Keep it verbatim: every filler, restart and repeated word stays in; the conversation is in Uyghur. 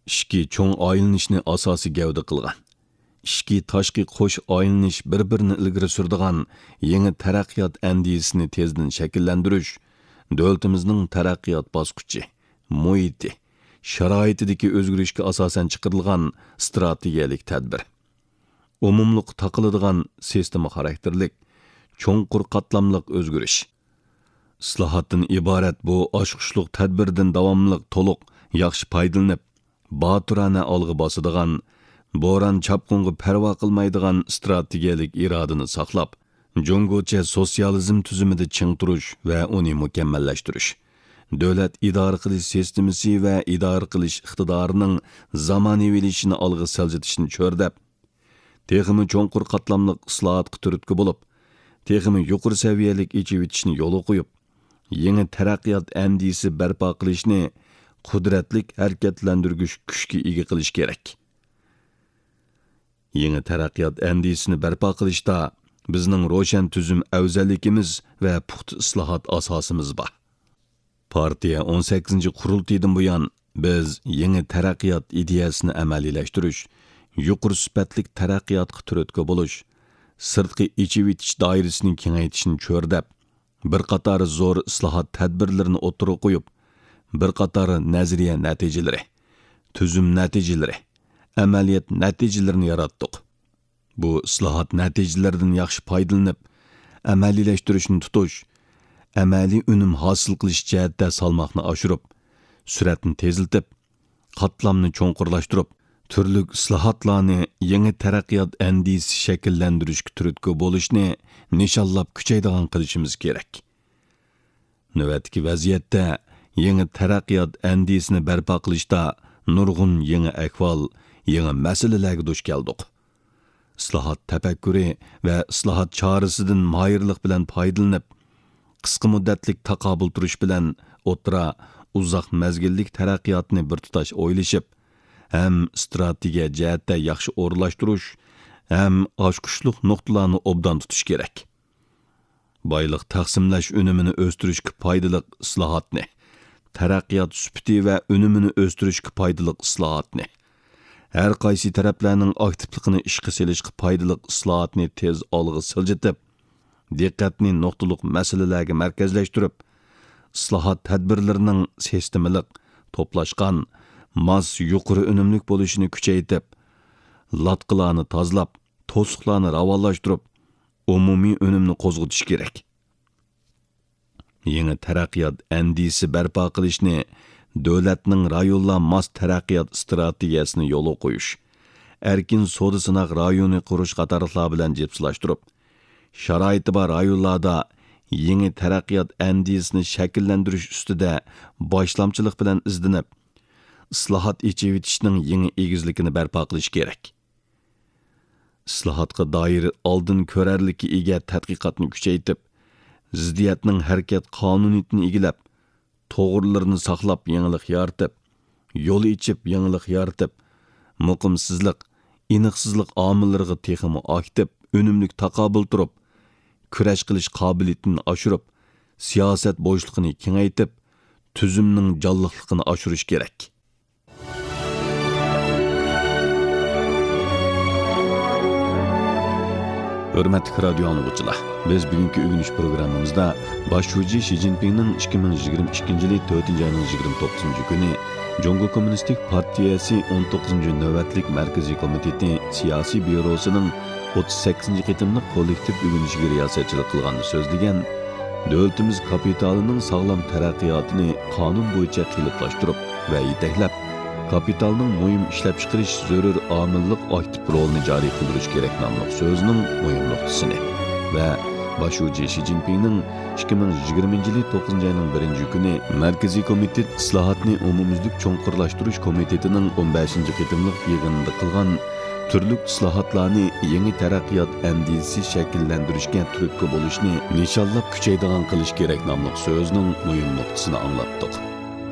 ئىچكى چوڭ ئايلىنىشنى ئاساسىي گەۋدە قىلغان، ئىچكى تاشقى قوش ئايلىنىش بىر-بىرىنى ئىلگىرى سۈرىدىغان يېڭى تەرەققىيات ئەندىزىسىنى تېزدىن شەكىللەندۈرۈش دۆلىتىمىزنىڭ تەرەققىيات باسقۇچى، مۇھىتى، شارائىتىدىكى ئۆزگىرىشكە ئاساسەن چىقىرىلغان ئىستراتېگىيەلىك تەدبىر. ئومۇملۇققا تاقىلىدىغان سىستېما خاراكتېرلىك، چوڭقۇر قاتلاملىق ئۆزگىرىش. ئىسلاھاتتىن ئىبارەت بۇ ئاچقۇچلۇق تەدبىردىن داۋاملىق تولۇق، ياخشى پايدىلىنىپ، باتۇرانە ئالغا باسىدىغان، بوران-چاپقۇنغا پەرۋا قىلمايدىغان ئىستراتېگىيەلىك ئىرادىنى ساقلاپ، جۇڭگوچە سوتسىيالىزم تۈزۈمىدە چىڭ تۇرۇش ۋە ئۇنى مۇكەممەللەشتۈرۈش، دۆلەت ئىدارە قىلىش سىستېمىسى ۋە ئىدارە قىلىش ئىقتىدارىنىڭ زامانىۋىلىشىشىنى ئالغا سىلجىتىشنى چۆرىدەپ، تېخىمۇ چوڭقۇر قاتلاملىق ئىسلاھاتقا تۈرتكە بولۇپ، تېخىمۇ يۇقىرى سەۋىيەلىك ئېچىۋېتىشنى يولغا قويۇپ، يېڭى تەرەققىيات ئەندىزىسى بەرپا قىلىشنى قۇدرەتلىك ھەرىكەتلەندۈرگۈچ كۈچكە ئىگە قىلىش كېرەك. يېڭى تەرەققىيات ئەندىزىسىنى بەرپا قىلىشتا بىزنىڭ روشەن تۈزۈم ئەۋزەللىكىمىز ۋە پۇختا ئىسلاھات ئاساسىمىز بار. پارتىيە ئون سەككىزىنچى قۇرۇلتىيىدىن بۇيان، بىز يېڭى تەرەققىيات ئىدىيەسىنى ئەمەلىيلەشتۈرۈش، يۇقىرى سۈپەتلىك تەرەققىياتقا تۈرتكە بولۇش، سىرتقى ئېچىۋېتىش دائىرىسىنى كېڭەيتىشنى چۆرىدەپ، بىر قاتار زور ئىسلاھات تەدبىرلىرىنى ئوتتۇرىغا قويۇپ، بىر قاتار نەزەرىيە نەتىجىلىرى، تۈزۈم نەتىجىلىرى، ئەمەلىيەت نەتىجىلىرىنى ياراتتۇق. بۇ ئىسلاھات نەتىجىلىرىدىن ياخشى پايدىلىنىپ، ئەمەلىيلەشتۈرۈشنى تۇتۇش، ئەمەلىي ئۈنۈم ھاسىل قىلىش جەھەتتە سالماقنى ئاشۇرۇپ، سۈرئەتنى تېزلىتىپ، قاتلامنى چوڭقۇرلاشتۇرۇپ، تۈرلۈك ئىسلاھاتلارنى يېڭى تەرەققىيات ئەندىزىسى شەكىللەندۈرۈشكە تۈرتكە بولۇشنى نىشانلاپ كۈچەيدىغان قىلىشىمىز كېرەك. نۆۋەتتىكى ۋەزىيەتتە يېڭى تەرەققىيات ئەندىزىسىنى بەرپا قىلىشتا نۇرغۇن يېڭى ئەھۋال، يېڭى مەسىلىلەرگە دۇچ كەلدۇق. ئىسلاھات تەپەككۇرى ۋە ئىسلاھات چارىسىدىن ماھىرلىق بىلەن پايدىلىنىپ، قىسقا مۇددەتلىك تاقابىل تۇرۇش بىلەن ئوتتۇرا، ئۇزاق مەزگىللىك تەرەققىياتنى بىر تۇتاش ئويلىشىپ، ھەم ئىستراتېگىيە جەھەتتە ياخشى ئورۇنلاشتۇرۇش، ھەم ئاچقۇچلۇق نۇقتىلارنى ئوبدان تۇتۇش كېرەك. بايلىق تەقسىملەش ئۈنۈمىنى ئۆستۈرۈشكە پايدىلىق ئىسلاھاتنى، تەرەققىيات سۈپىتى ۋە ئۈنۈمىنى ئۆستۈرۈشكە پايدىلىق ئىسلاھاتنى، ھەر قايسى تەرەپلەرنىڭ ئاكتىپلىقىنى ئىشقا سېلىشقا پايدىلىق ئىسلاھاتنى تېز ئالغا سىلجىتىپ، دىققەتنى نۇقتىلىق مەسىلىلەرگە مەركەزلەشتۈرۈپ، ئىسلاھات تەدبىرلىرىنىڭ سىستېمىلىق، توپلاشقان، ماس، يۇقىرى ئۈنۈملۈك بولۇشىنى كۈچەيتىپ، لاتقىلارنى تازىلاپ، توسۇقلارنى راۋانلاشتۇرۇپ، ئومۇمىي ئۈنۈمنى قوزغىتىش كېرەك. يېڭى تەرەققىيات ئەندىزىسى بەرپا قىلىشنى دۆلەتنىڭ رايونلار ماس تەرەققىيات ئىستراتېگىيەسىنى يولغا قويۇش، ئەركىن سودا سىناق رايونى قۇرۇش قاتارلىقلار بىلەن جىپسىلاشتۇرۇپ، شارائىتى بار رايونلاردا يېڭى تەرەققىيات ئەندىزىسىنى شەكىللەندۈرۈش ئۈستىدە باشلامچىلىق بىلەن ئىزدىنىپ، ئىسلاھات ئېچىۋېتىشنىڭ يېڭى ئېگىزلىكىنى بەرپا قىلىش كېرەك. ئىسلاھاتقا دائىر ئالدىن كۆرەرلىككە ئىگە تەتقىقاتنى كۈچەيتىپ، زىددىيەتنىڭ ھەرىكەت قانۇنىيىتىنى ئىگىلەپ، توغرىلىرىنى ساقلاپ يېڭىلىق يارىتىپ، يول ئېچىپ يېڭىلىق يارىتىپ، مۇقىمسىزلىق، ئېنىقسىزلىق ئامىللىرىغا تېخىمۇ ئاكتىپ، ئۈنۈملۈك تاقابىل تۇرۇپ، كۈرەش قىلىش قابىلىيىتىنى ئاشۇرۇپ، سىياسەت بوشلۇقىنى كېڭەيتىپ، تۈزۈمنىڭ جانلىقلىقىنى ئاشۇرۇش كېرەك. ھۆرمەتلىك رادىيو ئاڭلىغۇچىلار، بىز بۈگۈنكى ئۆگىنىش پروگراممىمىزدا باش شۇجى شى جىنپىڭنىڭ ئىككى مىڭ يىگىرمە ئىككىنچى يىلى تۆتىنچى ئاينىڭ يىگىرمە توققۇزىنچى كۈنى جۇڭگو كوممۇنىستىك پارتىيەسى ئون توققۇزىنچى نۆۋەتلىك مەركىزىي كومىتېتى سىياسىي بيۇروسىنىڭ ئوتتۇز سەككىزىنچى قېتىملىق كوللېكتىپ ئۆگىنىشىگە رىياسەتچىلىك قىلغاندا سۆزلىگەن، دۆلىتىمىز كاپىتالىنىڭ ساغلام تەرەققىياتىنى قانۇن بويىچە قېلىپلاشتۇرۇپ ۋە يېتەكلەپ، كاپىتالنىڭ مۇھىم ئىشلەپچىقىرىش زۆرۈر ئامىللىق ئاكتىپ رولىنى جارى قىلدۇرۇش كېرەك ناملىق سۆزىنىڭ مۇھىم نۇقتىسىنى ۋە باش شۇجى شى جىنپىڭنىڭ ئىككى مىڭ يىگىرمىنچى يىلى توققۇزىنچى ئاينىڭ بىرىنچى كۈنى مەركىزىي كومىتېت ئىسلاھاتنى ئومۇميۈزلۈك چوڭقۇرلاشتۇرۇش كومىتېتىنىڭ ئون بەشىنچى قېتىملىق يىغىنىدا قىلغان تۈرلۈك ئىسلاھاتلارنى يېڭى تەرەققىيات ئەندىزىسى شەكىللەندۈرۈشكە تۈرتكە بولۇشنى نىشانلاپ كۈچەيدىغان قىلىش كېرەك ناملىق سۆزىنىڭ مۇھىم نۇقتىسىنى ئاڭلاتتۇق.